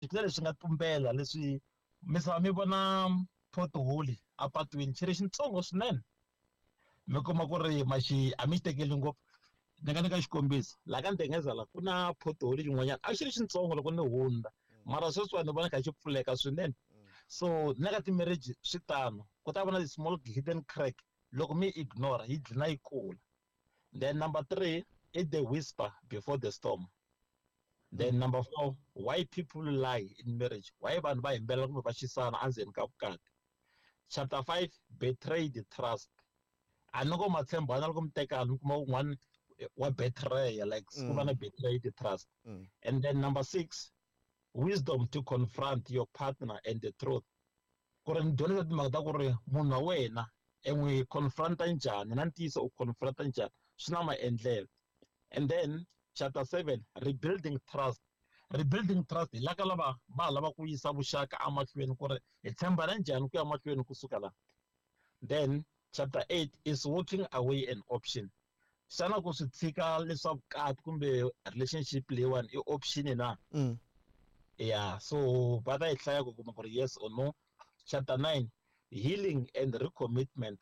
Ku na leswi nga tumbela leswi mi mi vona pothole apatwini xi ri xitsongo swinene mi kuma ku ri ma xi a mi xi tekeli ngopfu. Ni nga nyika xikombiso laha ka Ndengezela ku na pothole xin'wanyana a xi ri xitsongo loko ni hundza mara sweswiwani ni vona kha xi pfuleka swinene. So na ka ti-marriage swi tano ku ta va na ti-small hidden crack loko mi ignore yi dlina yi kula. Then number 3 i the whisper before the storm. Then number 4, why people lie in marriage, why vanhu va hembela kumbe va xisana endzeni ka vukati. Chapter 5, betrayed trust. A ni ngo ma tshembana loko mi tekana mi kuma un'wana wa betray, like ku va na betrayed trust. And then number 6, wisdom to confront your partner and the truth. Ku ri ni dyondzisa timhaka ta ku ri munhu wa wena e n'wi confronta njhani na ntiyiso u confronta njhani swi na maendlelo. And then chapter 7, rebuilding trust. Rebuilding trust hi laka lava va lava ku yisa vuxaka emahlweni ku ri hi tshembana njhani ku ya mahlweni kusuka la. Then chapter 8 is walking away an option. Xana ku swi tshika leswa vukati kumbe relationship leyiwani i option na? Yeah, so va ta yi hlaya ku kuma ku ri yes or no. Chapter 9, healing and recommitment.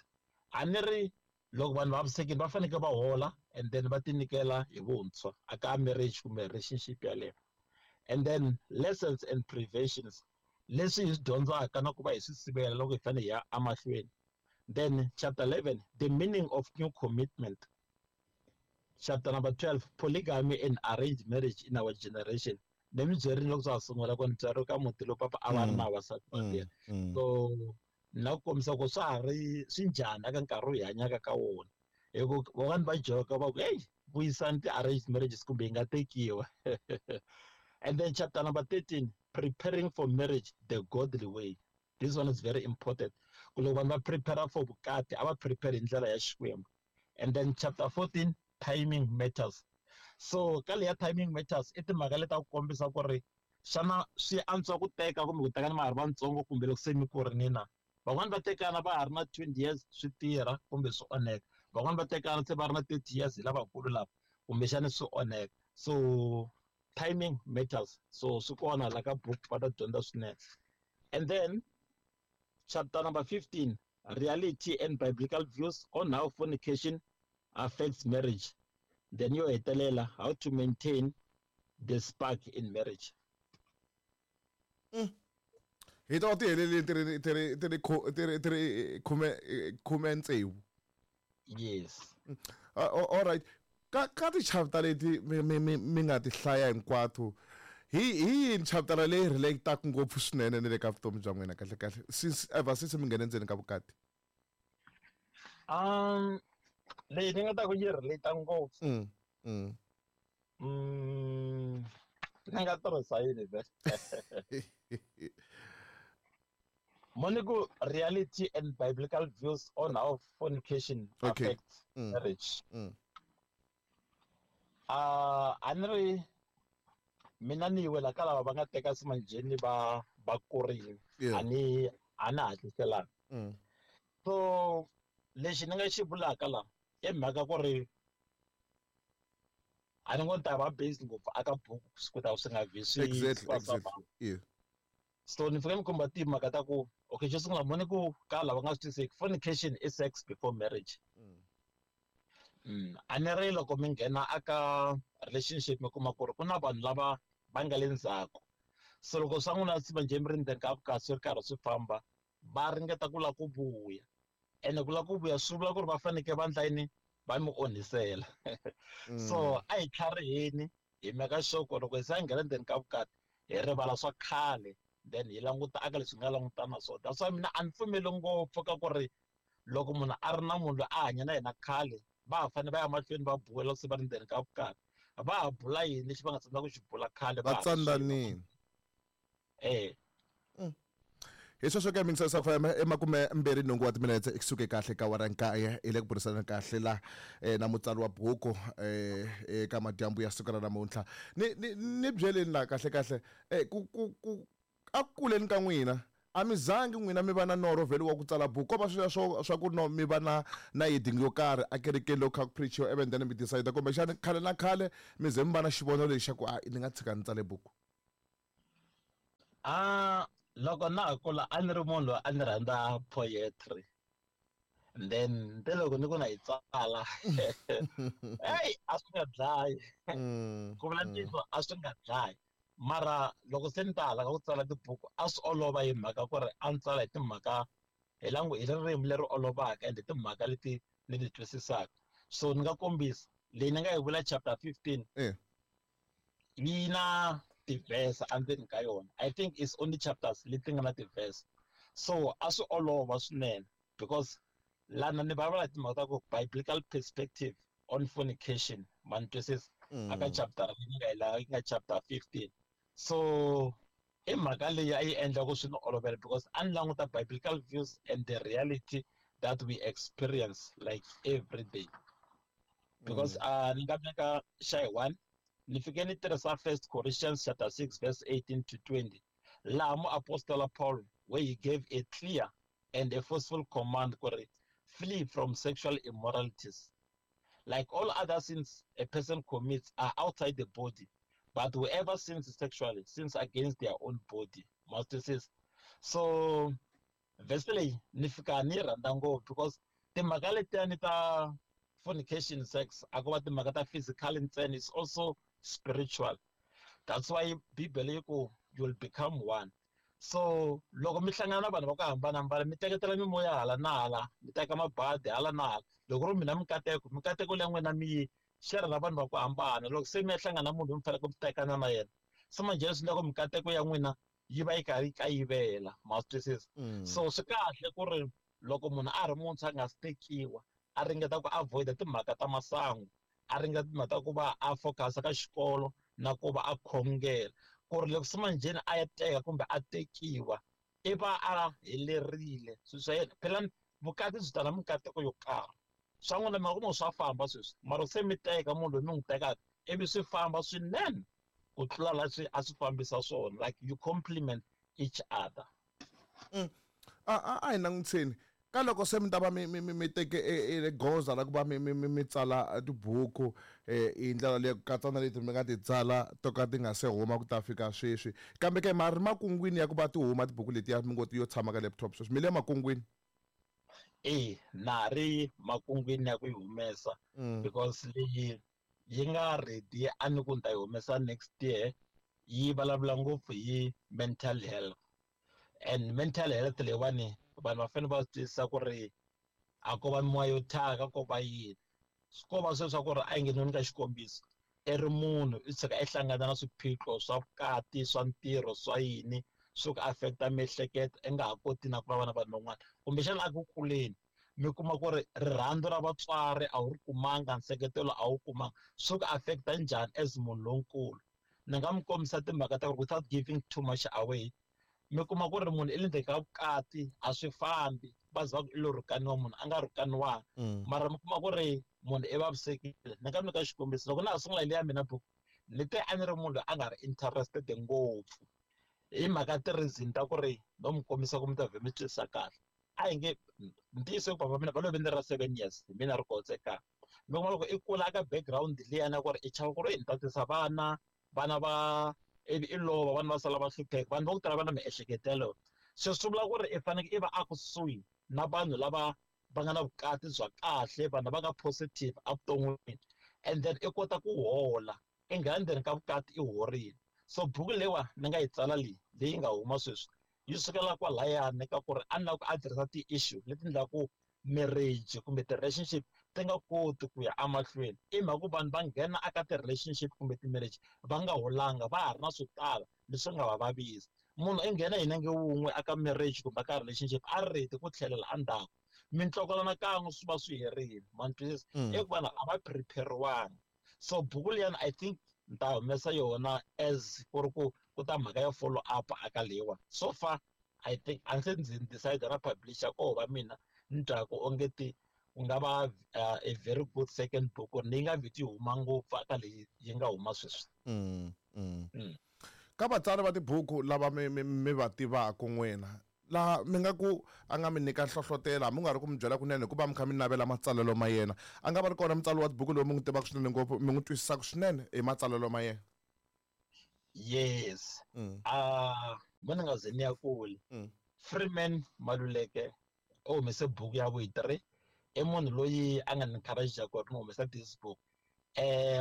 A ni ri loko vanhu va vavisekile va fanekele va hola and then va tinyikela hi vuntshwa aka marriage kumbe relationship yaleyo. And then lessons and preventions, leswi hi swi dyondzaka na ku va hi swi sivela loko hi fanele hi ya emahlweni. Then chapter 11, the meaning of new commitment. Chapter number 12, polygamy and arranged marriage in our generation. Ni mi byerile loko swa ha sungula ku ni tswariwe ka muti lowu papa a va ri na vavasati vambirhi. So na ku kombisa ku swa ha ri swi njhani eka nkarhi lowu hi hanyaka ka wona. Hi ku van'wani va joka va ku hey, vuyisani ti-arranged marriages kumbe yi nga tekiwa. And then chapter number 13, preparing for marriage the godly way. This one is very important. Ku loko vanhu va prepare for vukati a va prepare hi ndlela ya Xikwembu. And then chapter 14, timing matters. So ka leya timing matters i timhaka leti ta ku kombisa ku ri xana swi antswa ku teka kumbe ku tekana ma ha ri vatsongo kumbe loko se mi kurile na. Van'wani va tekana va ha ri na 20 years swi tirha kumbe swi onheka. Van'wani va tekana se va ri na 30 years hi lavakulu lava kumbexana swi onheka. So timing matters. So swi kona la ka book va ta dyondza swinene. And then chapter number 15, reality and biblical views on how fornication affects marriage. Then yo hetelela how to maintain the spark in marriage. Hi ta ti heleleni ti ri ti ri ti ri ti ri ti ri khume khume tsevu. Yes. All right. Ka ti chapter leti mi nga ti hlaya hinkwato, hi yini chapter leyi relate-aka ngopfu swinene ni le ka vutomi bya n'wina kahle kahle since ever since mi nghene ndzeni ka vukati? Leyi ni nga ta ku yi relate ngopfu. Ni nga tirhisa yini vhele? Moniku, reality and biblical views on how fornication affects marriage. A ni ri mina ni wela ka lava va nga teka simanjheni va va kurile. A ni a na hatliselanga. So lexi ni nga xi vulaka la i mhaka ku ri a ni ngo ni ta va based ngopfu aka buku ku ta swi nga vi swi So ni fika ni khumba timhaka ta ku okay, xo sungula moni ku ka lava nga swi twiseki fornication i sex before marriage. A ni ri loko mi nghena aka relationship mi kuma ku ri ku na vanhu lava va nga le ndzhaku. So loko swa n'wina swi va njhe mi ri ndzeni ka vukati swi ri karhi swi famba va ringeta ku lava ku vuya. Ene ku lava ku vuya swi vula ku ri va fanekele va endla yini? Va mi onhisela. So a hi tlhariheni hi meka sure ku loko hi se nghena ndzeni ka vukati hi rivala swa khale then hi languta aka leswi nga langutana na swona. That's why mina a ni pfumeli ngopfu ka ku ri loko munhu a ri na munhu loyi a hanya na yena khale va ha fanele va ya mahlweni va bula loko se va ri ndzeni ka vukati. Va ha bula yini lexi va nga tsandzeka ku xi bula khale va ha ri tsandanini. Hi sweswo ke mingisela sa FM e makume mbirhi nhungu wa timinetse kusuke kahle ka awara nkaye hi le ku burisana kahle la na mutsari wa buku eka madyambu ya siku ra namuntlha. Ni ni ni byeleni la kahle kahle ku ku ku a ku kuleni ka n'wina a mi zangi n'wina mi va na norho vhele wa ku tsala buku ko va swilo swo swa ku no mi va na na heading yo karhi a kerekeni loko kha ku preachiwa even then mi decide kumbexana khale na khale mi ze mi va na xivono lexi xa ku a ni nga tshika ni tsale buku. A loko na ha kula a ni ri munhu loyi a ni rhandza poetry, and then te loko ni ku na yi tsala, hey, a swi nga dlayi. Ku vula ntiyiso, a swi nga dlayi, mara loko se ni ta hala ka ku tsala tibuku, a swi olova hi mhaka ku ri a ni tsala hi timhaka hi langu hi ririmi leri olovaka and timhaka leti ni ti twisisaka. So ni nga kombisa leyi ni nga yi vula chapter 15. Yi na ti-verse endzeni ka yona. I think it's only chapters leti nga na ti-verse, so a swi olova swinene because lana ni vulavula hi timhaka ta ku biblical perspective on fornication, ma ni twisisa? Aka chapter leyi nga yi la yi nga chapter 15. So i mhaka leyi a yi endla ku swi ni olovela because a ni languta biblical views and the reality that we experience like every day, because ni nga veka xa hi one, ni fike ni tirhisa First Corinthians chapter 6 verse 18 to 20, laha muapostola Paul, where he gave a clear and a forceful command ku ri flee from sexual immoralities. Like all other sins a person commits are outside the body, but whoever sins sexually sins against their own body. Master. So verse leyi ni fika ni yi rhandza ngopfu because timhaka letiyani ta fornication, sex, a ko va timhaka ta physical ntsena, it's also spiritual. That's why Bibele yi ku you'll become one. So loko mi hlangana na vanhu va ku hambanahambana, mi teketela mimoya hala na hala, mi teka mabadi hala na hala. Loko ri mina mikateko, mikateko leya n'wina mi yi share na vanhu va ku hambana. Loko se mi ya hlangana na munhu loyi mi faneleke mi tekana na yena, se manjhe swi loko mikateko ya n'wina yi va yi karhi yi kayivela, ma swi twisisa? So swi kahle ku ri loko munhu a ri muntshwa a nga si tekiwa, a ringeta ku avoid timhaka ta masangu, a ringeta timhaka ta ku va a focus ka xikolo na ku va a khongela, ku ri loko se manjheni a ya teka kumbe a tekiwa, i va a helerile swilo swa yena. Phela vukati byi tala mikateko yo karhi. Swa n'wina mi nga kuma swa famba sweswi, mara se mi teka munhu loyi mi n'wi tekaka, ivi swi famba swinene ku tlula la swi a swi fambisa swona, like you complement each other. A hi langutiseni ka loko se mi ta va mi teke e goza ra ku va mi tsala tibuku hi ndlela leyi, ku katsa na leti mi nga ti tsala to ka ti nga se huma ku ta fika sweswi, kambe ke ma ri makungwini ya ku va ti huma tibuku letiya mi ngo ti yo tshama ka laptop sweswi, mi le makungwini? E, na ri makungwini ya ku yi humesa because leyi yi nga ready a ni ku ni ta yi humesa next year, yi vulavula ngopfu hi mental health. And mental health leyiwani vanhu va fanele va swi twisisa ku ri a ko va mimoya yo thyaka, ko va yini, ko va sweswo swa ku ri a yi nge ni ka xikombiso, i ri munhu i tshuka i hlangana na swiphiqo swa vukati, swa ntirho, swa yini, swi ku affecta miehleketo, i nga ha koti na ku vulavula na vanhu van'wana. Kumbexana a ku kuleni mi kuma ku ri rirhandzu ra vatswari a wu ri kumanga, nseketelo a wu kumanga, swi ku affecta njhani as munhu lonkulu? Ni nga mi kombisa timhaka ta ku ri without giving too much away, mi kuma ku ri munhu i le ndzeni ka vukati, a swi fambi, va za va ku i lo rhukaniwa, munhu a nga rhukaniwanga, mara mi kuma ku ri munhu i vavisekile. Ni nga mi nyika xikombiso, loko na ha sungula leya mina buku ni te a ni ri munhu loyi a nga ri interested ngopfu hi mhaka ti-reason ta ku ri no mi kombisa ku mi ta vhe mi twisisa kahle. A hi nge ntiyiso ku papa mina va love ni ra 7 years, hi mina ri kotsekaka. Mi kuma loko i kula ka background liya na ku ri i chava ku ri ni ta tisa vana, vana va ivi i lova, vana va sala va hlupheka. Vanhu va ku tala va na miehleketo yaleyo. Se swi vula ku ri i fanekele i va a kusuhi na vanhu lava va nga na vukati bya kahle, vanhu lava nga positive evuton'wini, and then i kota ku hola, i nghena ndzeni ka vukati i horile. So buku leyiwa ni nga yi tsala leyi, leyi nga huma sweswi, yi sukela kwalayani ka ku ri a ni lava ku addressa ti-issue leti endlaku marriage kumbe ti-relationship ti nga koti ku ya emahlweni, i mhaka ku vanhu va nghena aka ti-relationship kumbe ti-marriage va nga holanga, va ha ri na swo tala leswi nga va vavisa. Munhu i nghena hi nenge wun'we aka marriage kumbe aka relationship, a ri ready ku tlhelela endzhaku, mintlokolana kan'we swi va swi herile, ma ni twisisa? I ku vanhu a va prepare-wanga. So buku liyani I think ni ta humesa yona as ku ri ku ta mhaka ya follow up aka leyiwani. So far I think a ndzi se ndzi decide na publisher ko va mina ni twaku onge ti ku nga va a very good second book ku ri leyi nga vheti yi huma ngopfu aka leyi yi nga huma sweswi. Ka vatsari va tibuku lava mi va tivaka n'wina, laha mi nga ku a nga mi nyika nhlohlotelo, hambi u nga ri ku mi byela kunene, hikuva mi kha mi navela matsalelo ma yena, a nga va ri kona mutsari wa tibuku loyi mi n'wi tivaka swinene ngopfu, mi n'wi twisisaka swinene hi matsalelo ma yena? Yes. Mo ni nga ze ni ya kule. Freeman Maluleke u humese buku ya vu 3, i munhu loyi a nga ni encourage ku ri ni humesa this book.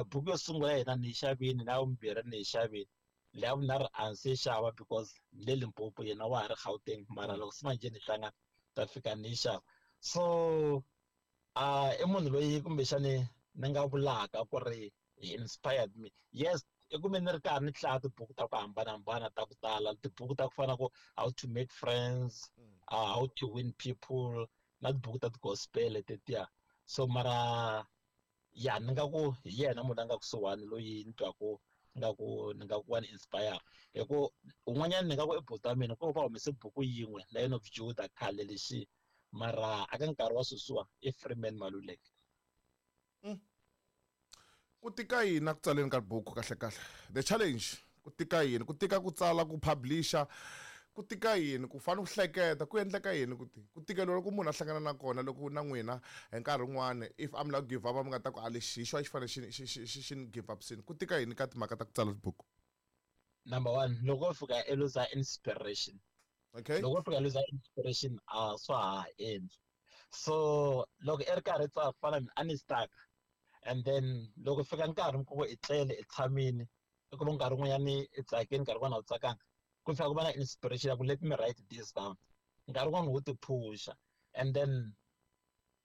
Buku yo sungula yena ni yi xavini, na ya vumbirhi ni yi xavini, leya vunharhu a ndzi se xava because ni le Limpopo, yena wa ha ri Gauteng, mara loko se manje ni hlangana ta fika ni yi xava. So i munhu loyi kumbexani ni nga vulaka ku ri he inspired me. Yes, i kume ni ri karhi ni hlaya tibuku ta ku hambanahambana ta ku tala, tibuku ta ku fana ku How to Make Friends, How to Win People, na tibuku ta ti-gospel tetiya. So mara ya ni nga ku hi yena munhu a nga kusuhani loyi ni twaku nga ku ni nga ku wa ni inspire. Hi ku un'wanyana ni nga ku i buti wa mina, ku va humese buku yin'we Lion of Judah khale lexi, mara aka nkarhi wa sweswiwa i Freeman Maluleke. Ku tika yini ku tsaleni ka buku kahle kahle? The challenge, ku tika yini? Ku tika ku tsala, ku publisher, ku tika yini? Ku fanele ku hleketa, ku endleka yini? Ku tikeliwa loko munhu a hlangana na kona loko na n'wina hi nkarhi wun'wani if I'm like give up, mi nga ta ku a lexi hi xo a xi fanele xi ni give up sini. Ku tika yini ka timhaka ta ku tsala tibuku? Number one, loko u fika i lose inspiration. Loko u fika lose inspiration, a swa ha endli. So loko i ri karhi tsala ku fana mina a ni stuck, and then loko fika nkarhi mi ku i tlele i tshamini, i kuma nkarhi wun'wanyani i tsakini, nkarhi wun'wani a wu tsakanga, ku fika ku va na inspiration ya ku let me write this down. Nkarhi wun'wani wo ti phusha, and then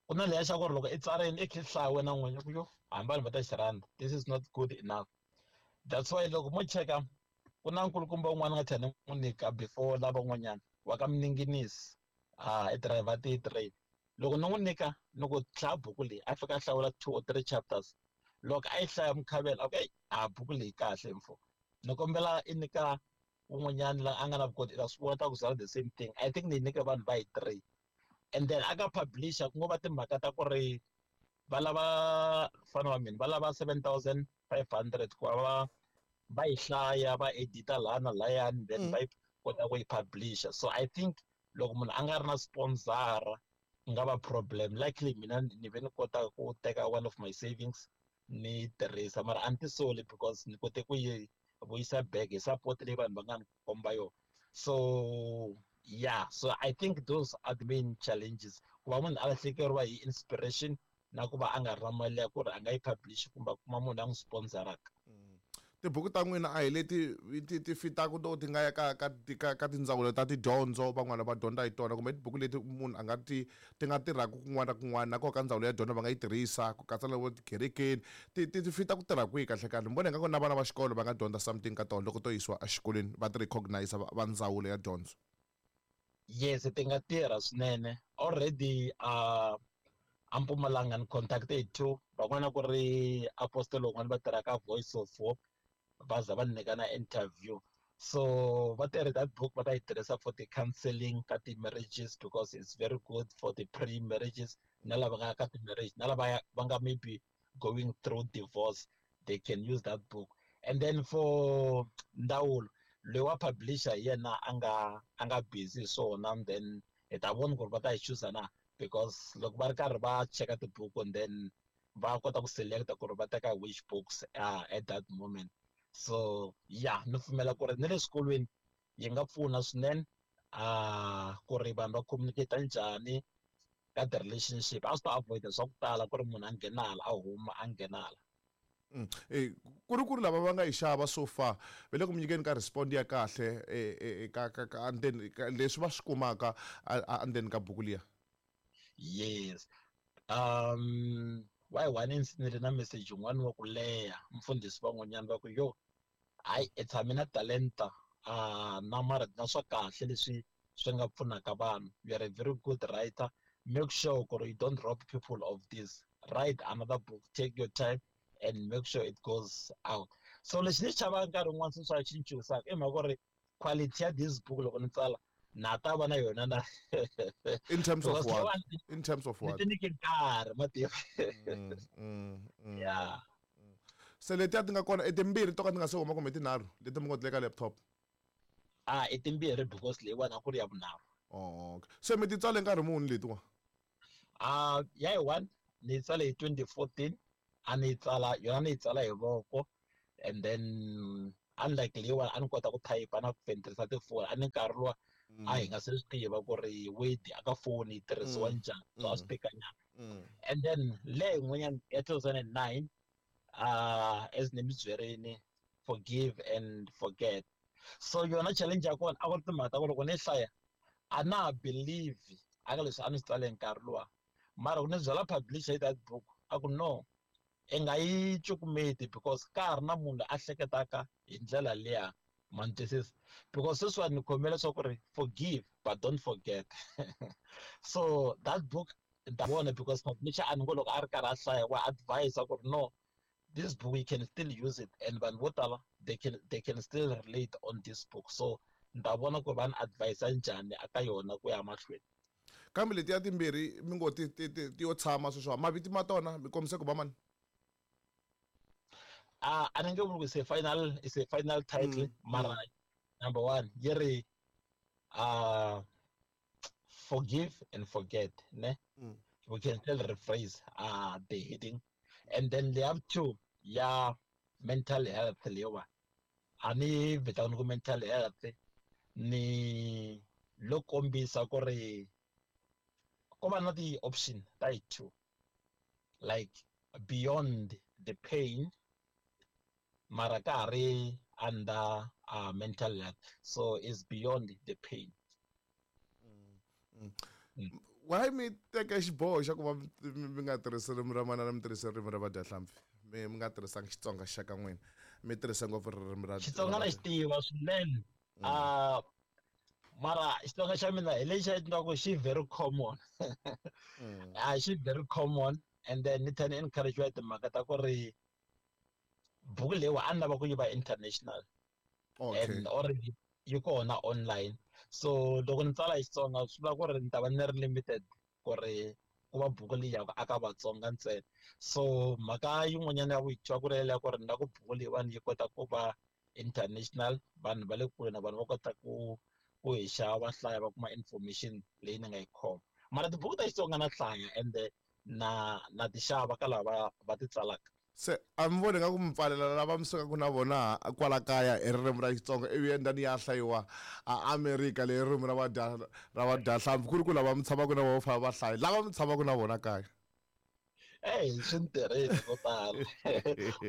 ku na leya xa ku ri loko i tsarini i kha i hlaya wena n'winyi ku yo hambi vanhu va ta xi rhandza, this is not good enough. That's why loko mo cheka ku na nkulukumba un'wana nga tlhela ni n'wi nyika before lavan'wanyana wa ka Mninginisi, i driver ti-train. Loko ni n'wi nyika ni ku hlaya buku leyi, a fika a hlawula 2 or 3 chapters. Loko a yi hlaya mukhavela, okay, a buku leyi kahle mfo, ni kombela i nyika un'wanyana la a nga na vukoti, i ta swi vona ta ku byala the same thing. I think ni yi nyike vanhu va yi 3, and then a ka publisher ku ngo va timhaka ta ku ri va lava mfana wa mina va lava 7500 ku va va yi hlaya, va edita laha na lahayani, then va yi kota ku yi publisher. So I think loko munhu a nga ri na sponsor ku nga va problem. Luckily mina ni ve ni kota ku teka one of my savings ni tirhisa, mara a ni tisoli because ni kote ku yi vuyisa back hi support leyi vanhu va nga ni komba yona. So yeah, so I think those are the main challenges, ku va munhu a lahlekeriwa hi inspiration na ku va a nga ri na mali ya ku ri a nga yi publish kumbe a kuma munhu a n'wi sponsoraka. Tibuku ta n'wina a hi leti ti fitaka to ti nga ya ka tindzawulo ta tidyondzo, van'wana va dyondza hi tona, kumbe tibuku leti munhu a nga ti ti nga tirhaka kun'wana na kun'wana, na koho ka ndzawulo ya dyondzo va nga yi tirhisa ku katsa na vo tikerekeni, ti fita ku tirha kwihi kahle kahle? Ni vona ingaku na vana va xikolo va nga dyondza something ka tona loko to yisiwa exikolweni, va ti recognize va ndzawulo ya dyondzo. Yes, ti nga tirha swinene. Already a Mpumalanga ni contacted 2, van'wana ku ri apostle un'wana va tirhaka Voice of Hope, va za va nyika na interview. So va tirhi that book va ta yi tirhisa for the counseling ka ti-marriages, because it's very good for the pre-marriages, na lava nga ka ti-marriage, na lava va nga maybe going through divorce, they can use that book. And then for ndzawulo loyi wa publisher hi yena a nga busy hi swona, and then hi ta vona ku ri va ta yi choose na, because loko va ri karhi va cheka tibuku and then va kota ku selecta ku ri va teka which books at that moment. So yeah, ni pfumela ku ri ni le swikolweni yi nga pfuna swinene, ku ri vanhu va communicate njhani ka ti-relationship. A swi ta avoid swa ku tala ku ri munhu a nghena hala a huma a nghena hala. Ku ri ku ri lava va nga yi xava so far va le ku mi nyikeni ka respond ya kahle ka endzeni ka leswi va swi kumaka endzeni ka buku liya. Yes. Why one ni na message yin'wana wa ku leha mfundhisi van'wanyana va ku yo hayi i tshame na talenta, na mara na swa kahle leswi swi nga pfunaka vanhu. You are a very good writer, make sure ku ri you don't rob people of this. Write another book, take your time and make sure it goes out. So lexi ni chavaka nkarhi wun'wana se swa xi chuhisaka i mhaka ku ri quality ya this book loko ni tsala na ta va na yona na In terms of what? In terms of what? Ni ti nyike nkarhi, ma tiva. Yeah. Se letiya ti nga kona i timbirhi to ka ti nga se huma kumbe tinharhu leti mi ngo ti le ka laptop? I timbirhi because leyiwani a ku ri ya vunharhu. Oh, okay. Se mi ti tsale nkarhi muni letiwa? Ya yi one ni yi tsale hi 2014, a ni yi tsala yona, ni yi tsala hi voko, and then Unlike leyiwani a ni kota ku type na ku tirhisa tifoni, a ni nkarhi luwa a hi nga se swi tiva ku ri Word aka foni yi tirhisiwa njhani, so a swi tekanyana. And then le yin'wanyana ya 2009, as ni mi byerini, Forgive and Forget. So yona challenge ya kona a ku ri timhaka ta ku loko ni hlaya a na ha believe aka leswi a ni swi tsale hi nkarhi luwa, mara ku ni byela publisher hi that book a ku no, i nga yi cukumeti because ka ha ri na munhu a hleketaka hi ndlela liya, ma ni twisisa? Because sweswiwani ni khomele swa ku ri forgive but don't forget. So that book ni ta vona because publisher a ni ngo loko a ri karhi a hlaya wa advise ku ri no, this book you can still use it and vanhu vo tala they can still relate on this book. So ni ta vona ku va ni advise njhani aka yona ku ya mahlweni. Kambe letiya timbirhi mi ngo ti yo tshama sweswo, mavito ma tona mi kombise ku va mani? A ni nge vuli ku it's a final title, mara number one yi ri Forgive and Forget, ne? We can still rephrase the heading. And then the other two ya mental health leyiwa a ni vitani ku mental health, ni lo kombisa ku ri ko va na ti-option ta hi two, like beyond the pain, mara ka ha ri under mental health, so it's beyond the pain. Why mi teka xiboho xa ku va mi nga tirhisi ririmi ra manana, mi tirhisa ririmi ra vadyahlampfi, mi nga tirhisanga Xitsonga xa ka n'wina, mi tirhisa ngopfu ririmi ra Xitsonga na xi tiva swinene, mara Xitsonga xa mina hi lexi endlaku xi very common, a xi very common. And then ni tlhela ni encourage hi timhaka ta ku ri buku leyiwa a ni lava ku yi va international and already yi kona online. So loko ni tsala hi Xitsonga swi vula ku ri ni ta va ni ri limited ku ri ku va buku leyi yaka aka Vatsonga ntsena. So mhaka yin'wanyana ya vuyitwa ku ri ya ku ri ni lava ku buku leyiwani yi kota ku va international, vanhu va le kule na vanhu va kota ku hi xava, va hlaya, va kuma information leyi ni nga yi khoma. Mara tibuku ta Xitsonga na hlaya ende na ti xava ka lava va ti tsalaka. Se a mi voni nga ku mi pfalela lava mi sukaka na vona kwala kaya hi ririmi ra Xitsonga, ivi endani ya hlayiwa a Amerika leyi ririmi ra vadyahlampfi, ku ri ku lava mi tshamaka na vona va fanele va hlaya lava mi tshamaka na vona kaya? Eyi, swi ni tirhile ko tala,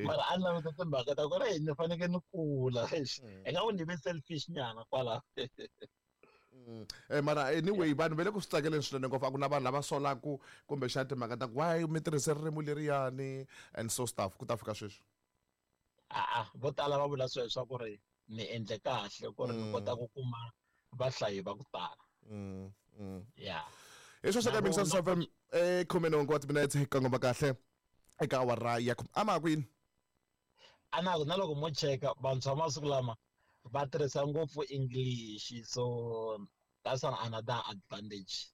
mara a ni languta timhaka ta ku ri ni fanekele ni kula, ingaku ni ve selfish nyana kwala. Mara anyway, vanhu va le ku swi tsakeleni swinene ngopfu. A ku na vanhu lava solaku kumbexana timhaka ta ku why mi tirhise ririmi leriyani and so stuff ku ta fika sweswi? A vo tala va vula sweswo swa ku ri ni endle kahle ku ri ni kota ku kuma vahlayi va ku tala. Ya. Hi sweswo ka Mixer FM, 18 wa timinetse hi kongoma kahle eka awara ya a ma kwini. A na na loko mo cheka vantshwa masiku lama va tirhisa ngopfu English, so that's an another advantage.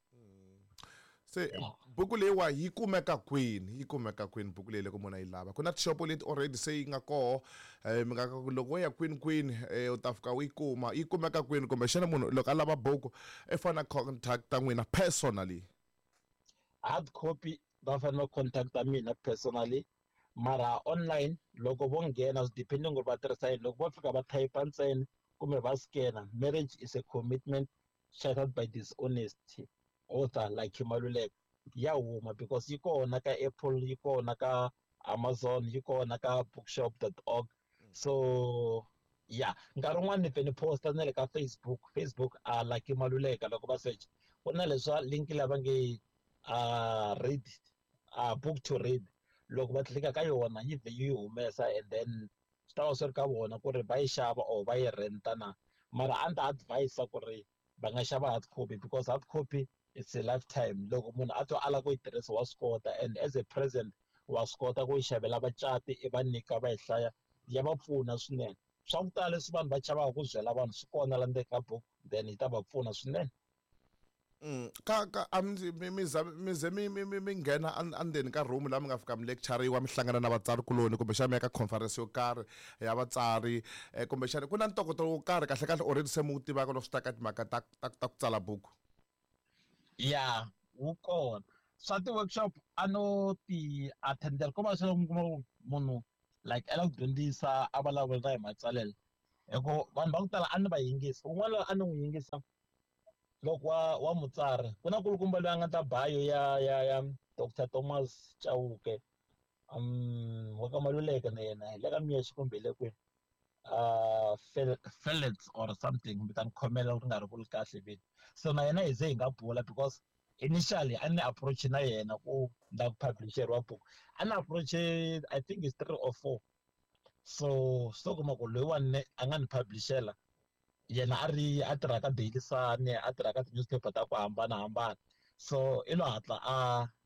Se buku leyiwa yi kumeka kwini? Yi kumeka kwini buku leyi loko munhu a yi lava? Ku na tishopo leti already se yi nga koho, mi nga ku loko wo ya kwini kwini, u ta fika u yi kuma. Yi kumeka kwini, kumbexana munhu loko a lava buku i fanele a contacta n'wina personally? Hard copy va fanele va contacta mina personally, mara online loko vo nghena, swi depending ku ri va tirhisa yini, loko vo fika va type ntsena kumbe va scanner "Marriage is a Commitment Shattered by Dishonesty", author Lucky Maluleka, ya huma because yi kona ka Apple, yi kona ka Amazon, yi kona ka bookshop.org. So ya, nkarhi wun'wani ni pfe ni posta na le ka Facebook. Facebook a Lucky Maluleka, loko va search ku na leswa link lava nge read, book to read, loko va tlika ka yona yi vhe yi humesa, and then swi ta va swi ri ka vona ku ri va yi xava or va yi renta na. Mara a ni ta advise ku ri va nga xava hard copy because hard copy it's a lifetime. Loko munhu a twa a lava ku yi tirhisa wa swi kota, and as a present wa swi kota ku yi xavela vacati i va nyika va yi hlaya, ya va pfuna swinene. Swa ku tala leswi vanhu va chavaka ku byela vanhu swi kona la ndzeni ka book, then yi ta va pfuna swinene. Ka a mi za mi ze mi nghena endzeni ka room laha mi nga fika mi lecture-iwa, mi hlangana na vatsari kuloni, kumbexana mi ya ka conference yo karhi ya vatsari, kumbexana ku na ntokoto wo karhi kahle kahle already se mi wu tivaka loko swi ta ka timhaka ta ku tsala buku? Ya, wu kona. Swa ti-workshop a no ti attendela, ko va swi mi kuma ku munhu like a lava ku dyondzisa, a vulavula hi matsalelo. Hi ku vanhu va ku tala a ni va yingisa, un'wana a ni n'wi yingisa loko wa mutsari ku na kulukumba loyi a nga ta bio ya Dr Thomas Chauke, wa ka Maluleke na yena hi le ka Miyexe kumbe hi le kwini, Felix or something, mi ta ni khomela ku ri nga ri vuli kahle vito. So na yena hi ze hi nga bula because initially a ni approach na yena ku la ku publisheriwa buku, a ni approach I think it's 3 or 4. So kuma ku loyiwani a nga ni publishela yena a ri a tirha ka Daily Sun, a tirha ka ti-newspaper ta ku hambanahambana. So i lo hatla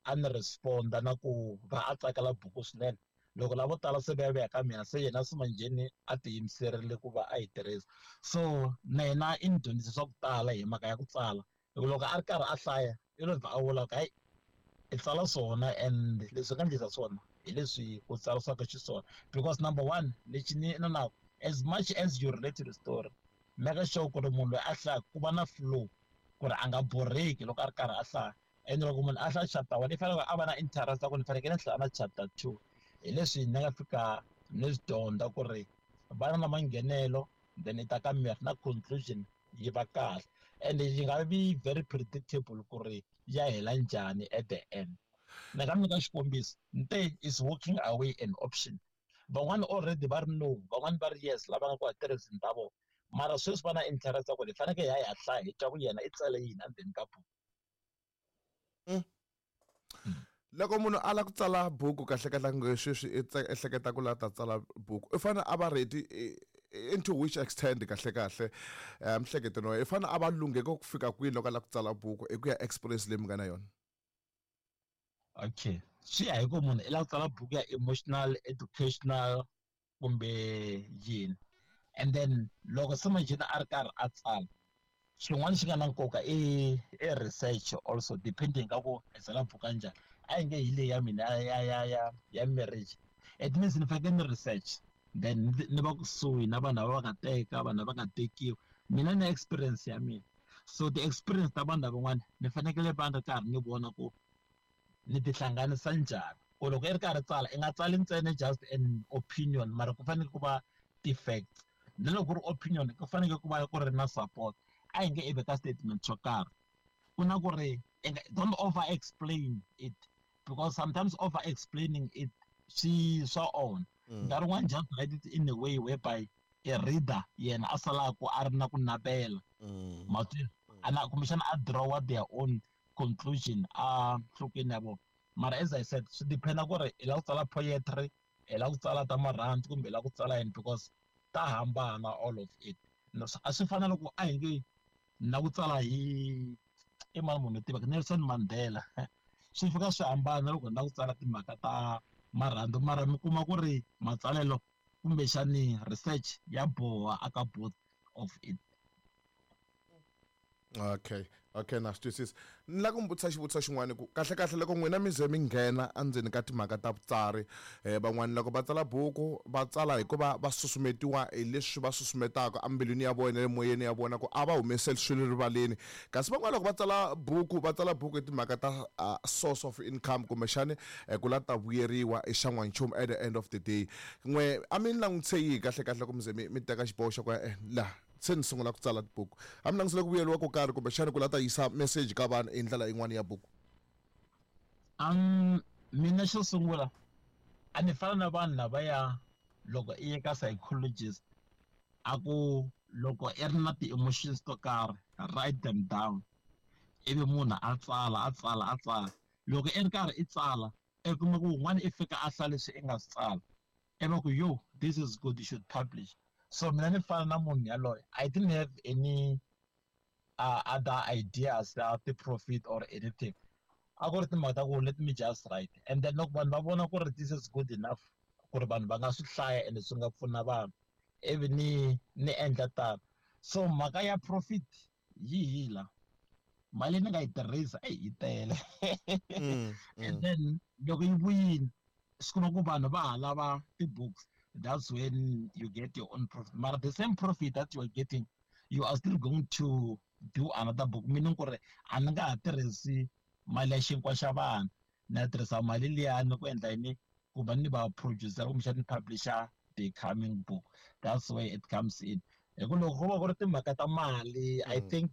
a ni responda na ku va a tsakela buku swinene. Loko lavo tala se va ya vuya ka mina, se yena se manjheni a tiyimiserile ku va a yi tirhisa. So na yena i ni dyondzise swa ku tala hi mhaka ya ku tsala. Hi ku loko a ri karhi a hlaya i lo vha a vula ku hayi i tsala swona and leswi nga endlisa swona hi leswi ku tsarisiwaka xiswona. Because number one, lexi ni na as much as you relate to the story, make sure ku ri munhu loyi a hlaya ku va na flow, ku ri a nga borheki loko a ri karhi a hlaya. And loko munhu a hlaya chapter 1 i fanele a va na interest ya ku ni fanekele ni hlaya na chapter 2. Hi leswi ni nga fika ni swi dyondza ku ri va na manghenelo, then i ta ka miri na conclusion yi va kahle, and yi nga vi very predictable ku ri ya hela njhani at the end. Ni nga nyika xikombiso, Nte is walking away an option. Van'wani already va ri no, van'wani va ri yes, lava nga ku tirhiseni ta vona. Mara sweswi va na interest ya ku hi fanekele hi ya hi ya hlaya hi twa ku yena i tsale yini endzeni ka buku. Loko munhu a lava ku tsala buku kahle kahle nge sweswi i ehleketa ku lava ta tsala buku, i fanele a va ready into which extent kahle kahle mhleketweni wa yena? I fanele a va lungheke ku fika kwini loko a lava ku tsala buku hi ku ya experience leyi mi nga na yona? Okay, swi ya hi ku munhu i lava ku tsala buku ya emotional, educational kumbe yini. And then loko se manjheni a ri karhi a tsala, xin'wana xi nga na nkoka i research also, depending ka ku i tsala buku ya njhani. A yi nge hi leyi ya mina ya marriage, it means ni fanekele ni research, then ni va kusuhi na vanhu lava va nga teka, vanhu lava nga tekiwa. Mina ni experience ya mina, so ti-experience ta vanhu lavan'wana ni fanekele va ri karhi ni vona ku ni tihlanganisa njhani. Ku loko i ri karhi tsala, i nga tsali ntsena just an opinion, mara ku fanele ku va ti-facts. Na loko ku ri opinion, ku fanekele ku va ku ri na support. A hi nge i veka statement xo karhi, ku na ku ri don't over explain it, because sometimes over explaining it swi swa onha. Nkarhi wun'wani just write it in a way whereby a reader yena a salaka a ri na ku navela. Matwi ana kumbexana a draw their own conclusion a nhlokweni ya vona. Mara as I said, swi depend ku ri i lava ku tsala poetry, i lava ku tsala ta marhandzu kumbe i lava ku tsala yini, because ta hambana all of it. A swi fana loko a hi nge na ku tsala hi i mani munhu tivaka Nelson Mandela, swi fika swi hambana loko na ku tsala timhaka ta marhandzu, mara mi kuma ku ri matsalelo kumbexani research ya boha aka both of it. Okay, na swi twisisa. Ni lava ku mi vutisa xivutiso xin'wana ku kahle kahle loko n'wina mi ze mi nghena endzeni ka timhaka ta vutsari, van'wani loko va tsala buku va tsala hikuva va susumetiwa hi leswi va susumetaka embilwini ya vona le moyeni ya vona ku a va humeseli swilo rivaleni, kasi van'wani loko va tsala buku va tsala buku hi timhaka ta source of income kumbexani ku la ta vuyeriwa i xan'wanchumu at the end of the day. N'we a mi langutise yihi kahle kahle loko mi ze mi teka xiboho xa ku ya laha se ni sungula ku tsala tibuku? A mi langutisele ku vuyeriwa ko karhi kumbexani ku la ta yisa message ka vanhu hi ndlela yin'wana ya buku? Mina xo sungula a ni fana na vanhu lavaya loko i ye ka psychologist a ku loko i ri na ti-emotions to karhi write them down, ivi munhu a tsala a tsala a tsala. Loko i ri karhi i tsala i kuma ku wun'wana i fika a hlaya leswi i nga swi tsala, i va ku yo this is good, you should publish. So mina ni fana na munhu yaloye, I didn't have any other ideas ta ti-profit or anything. A ku ri timhaka ta ku let me just write, and then loko vanhu va vona ku ri this is good enough ku ri vanhu va nga swi hlaya and swi nga pfuna vanhu, ivi ni endla tano. So mhaka ya profit yi hi la mali ni nga yi tirhisa, eyi yi tele. And then loko yi vuyile swi kuma ku vanhu va ha lava ti-books, that's when you get your own profit. Mara the same profit that you are getting, you are still going to do another book, meaning ku ri a ni nga ha tirhisi mali ya xinkwa xa vanhu, ni ya tirhisa mali liyani ku endla yini, ku va ni va producer kumbexana ni publisher The coming book, that's where it comes in, hi ku loko ku va ku ri timhaka ta mali, I think.